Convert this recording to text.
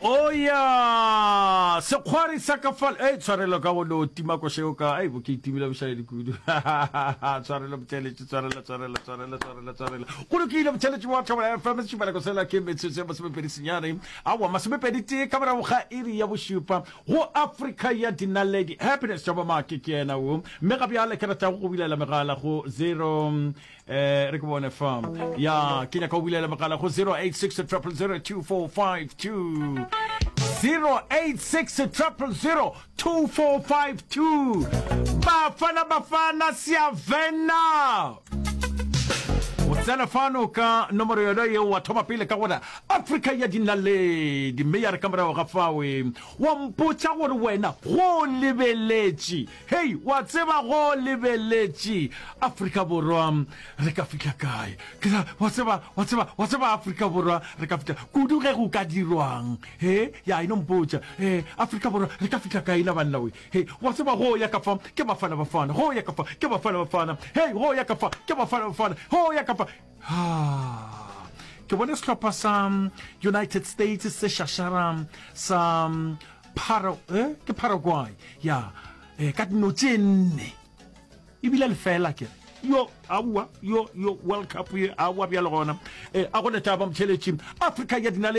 Oya sekgwari sa ka fal ei tshwarelo ka go no tima košeo ka ei bo ke itimile bošaedi kudu tshwarelo botšeletši tshwarelo tshwarelo tshwarelo tshwarelo tshwarelo go lokile botšeletši wa Thobela FM setšhupanako sela ke metsotso ya masomepedi senyane aowa masomepedi tee ka morago ga iri ya bošupa go Afrika ya dinaledi Happiness Jabamake ke yena wo mme ga bjale ke ratago go bulela megala go 0 Eh, re ke bone fa. Ya, ke nyaka go bulela mogala go 086 000 2452. 086 000 2452. Bafana Bafana Siyavena. O tsena fano ka nomoro yona yeo wa thoma pele ka gore Afrika ya dinaledi mme ya re ka morago ga fawe wa mpotša gore wena go lebeletše Hei, wa tseba go lebeletše Afrika Borwa re ka fihla kae? Ke ra, wa tseba, wa tseba, wa tseba Afrika Borwa re ka fihla kudu ge go ka dirwang. He, ya, e no mpotša. He, Afrika Borwa re ka fihla kae na banna we? He, wa tseba go ya ka fa ke Bafana Bafana, go ya ka fa ke Bafana Bafana. Hei, go ya ka fa ke Bafana Bafana, go ya ka fa. Ha, ke bone sehlopha sa United States se šašara sa Para, eh, ke Paraguay, ya, eh, ka dino tše nne. Ebile lefela ke re. Yo, aowa, yo, yo, World Cup ye, aowa bjalo gona. Eh, a go ne taba motšheletši. Afrika ya dinaledi.